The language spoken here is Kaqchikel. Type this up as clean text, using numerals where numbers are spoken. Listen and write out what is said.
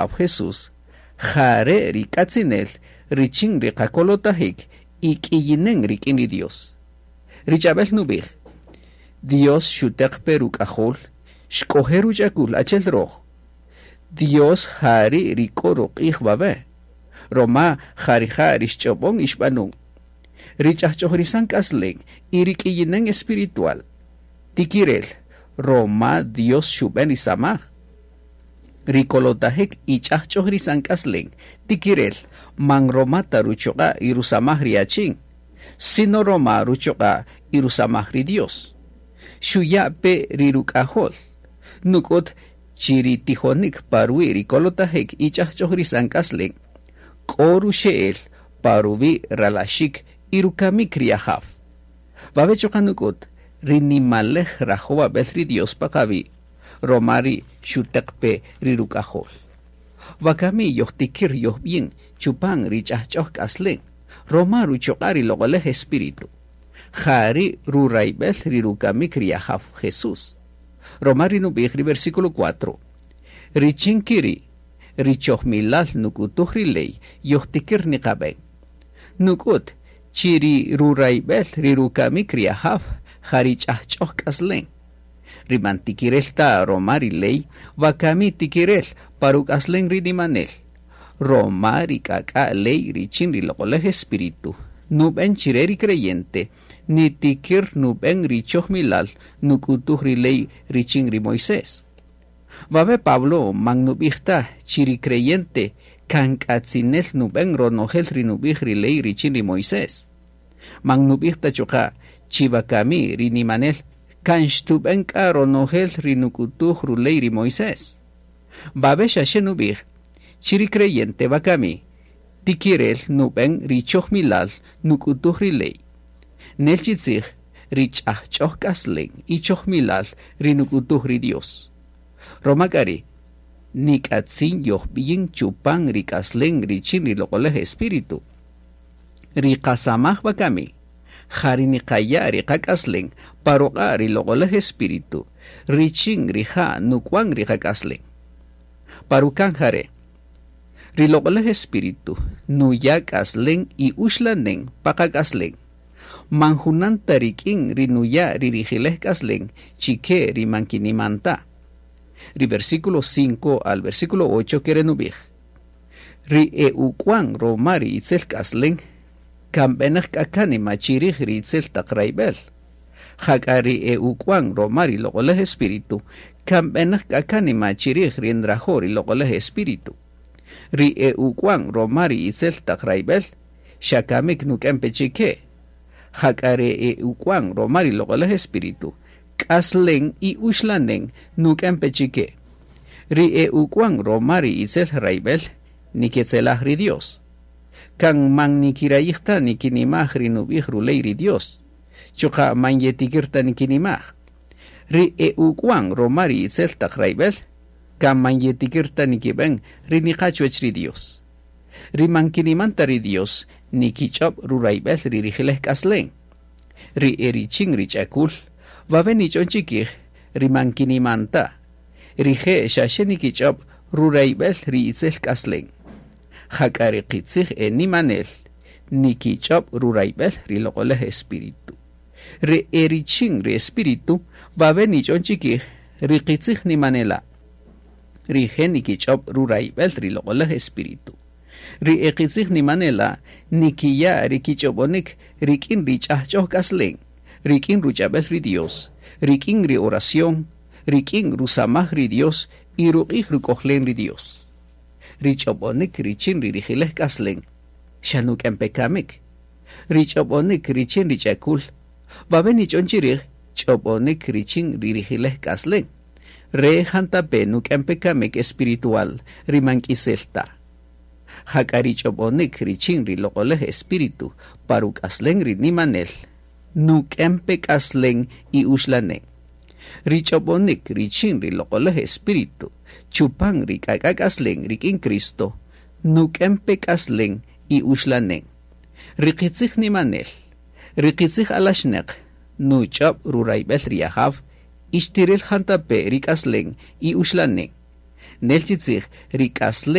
Jesús, jare' ri k'atzinel richin ri qakolotajik y k'iyinen rik'in ri Dios. Ri ch'ab'el nub'ij: Dios xuteq pe ruk'ajol, xk'oje' ruch'akul achel roj. Dios jari' ri k'o ruq'ij wawe', roma ja rija' ri xch'ob'on y xb'anun. Ri ch'ajch'ojrisan k'aslen y ri k'iyinen espiritual, tikirel roma Dios xub'en ri samaj. Ri kolotajik y ch'ajch'ojrisan k'aslen, tikirel man roma ta ruchuq'a' y rusamaj ri achin, sino roma ruchuq'a' y rusamaj ri Dios. Xuya' pe ri ruk'ajol, nuk'ut chi ri tijonik pa ruwi' ri kolotajik y ch'ajch'ojrisan k'aslen, k'o ruxe'el pa ruwi' ralaxik y rukamik ri Ajaw. Wawe' chuqa' nuk'ut ri nimalej rajowab'el ri Dios pa qawi', roma ri xuteq pe ri ruk'ajol. Wakami yojtikir yojb'in chupan ri ch'ajch'oj k'aslen, roma ruchuq'a' ri loq'olej Espíritu. Jari' rurayb'el ri rukamik ri Ajaw Jesús. Roma ri nub'ij ri versículo 4. Richin kiri, ri chojmilal nuk'utuj ri ley yojtikir niqab'en. Nuk'ut chi ri rurayb'el ri rukamik ri Ajaw ja ri ch'ajch'oj k'aslen. Ri man tikirel ta roma ri ley, wakami tikirel pa ruk'aslen ri nimanel. Roma ri k'ak'a' ley richin ri loq'olej Espíritu, nub'en chire ri creyente, nitikir nub'en ri chojmilal nuk'utuj ri ley richin ri Moisés. Wawe Pablo man nub'ij ta chi ri creyente kan k'atzinel nub'en ronojel ri nub'ij ri ley richin ri Moisés. Man nub'ij ta chuqa' chi wakami ri nimanel kan xtub'en k'a ronojel ri nuk'utuj ruley ri Moisés. Wawe xaxe nub'ij chi ri creyente wakami tikirel nub'en ri chojmilal nuk'utuj ri ley. Nel chi tzij ri ch'ajch'oj k'aslen y chojmilal ri nuk'utuj ri Dios. Roma k'a ri' nik'atzin yojb'iyin chupan ri k'aslen richin ri loq'olej Espíritu. Ri qasamaj wakami, ja ri niqaya' ri qak'aslen pa ruq'a' ri loq'olej Espíritu, richin rija' nuk'wan ri qak'aslen. Pa rukan jare', ri loq'olej Espíritu nuya' k'aslen y uxlanen pa qak'aslen. Man junan ta rik'in ri nuya' ri rijilej k'aslen chike ri man kiniman ta. Ri versículo 5 al versículo 8 kere nub'ij: Ri e uk'wan roma ri itzel k'aslen, kan b'enäq k'a kánima chirij ri itzel taq rayb'el. Jak'a ri e uk'wan roma ri loq'olej Espíritu, kan b'enäq k'a kánima chirij ri nrajo' ri loq'olej Espíritu. Ri e uk'wan roma ri itzel taq rayb'el, xa kamik nuk'en pe chike. Jak'a ri e uk'wan roma ri loq'olej Espíritu, k'aslen y uxlanen nuk'en pe chike. Ri e uk'wan roma ri itzel rayb'el, niketzelaj ri Dios. Kan man nikirayij ta nikinimaj ri nub'ij ruley ri Dios. Chuqa' man yetikir ta nikinimaj. Ri e uk'wan roma ri itzel taq rayb'el, kan man yetikir ta nikib'en ri niqa chuwech ri Dios. Ri man kiniman ta ri Dios, nikich'ob' rurayb'el ri rijilej k'aslen. Ri e richin ri ch'akul, wawe nich'on chikij ri man kiniman ta. Rije' xaxe nikich'ob' rurayb'el ri itzel k'aslen. Jak'a ri qitzij e nimanel, nikich'ob' rurayb'el ri loq'olej Espíritu. Ri e richin ri Espíritu, wawe nich'on chikij ri qitzij nimanela'. Rije' nikich'ob' rurayb'el ri loq'olej Espíritu. Ri e qitzij nimanela' nikiya' ri kich'ob'onik rik'in ri ch'ajch'oj k'aslen, rik'in ruch'ab'el ri Dios, rik'in ri oración, rik'in rusamaj ri Dios y ruq'ij ruk'ojlen ri Dios. Ri ch'ob'onik richin ri rijilej k'aslen, xa nuk'en pe kamik. Ri ch'ob'onik richin ri ch'akul, wawe nich'on chirij ch'ob'onik richin ri rijilej k'aslen. Re jantape nuk'en pe kamik espiritual ri man k'isel ta. Jak'a ri ch'ob'onik richin ri loq'olej Espíritu pa ruk'aslen ri nimanel, nuk'en pe k'aslen y uxlanen. Ri ch'ob'onik richin ri loq'olej Espíritu chupan ri k'ak'a k'aslen rik'in Cristo, nuk'en pe k'aslen y uxlanen. Ri qitzij nimanel, ri qitzij alaxneq, nuch'ob' rurayb'el ri Ajaw, ixtiril jantape ri k'aslen y uxlanen. Nel chi tzij, ri k'aslen.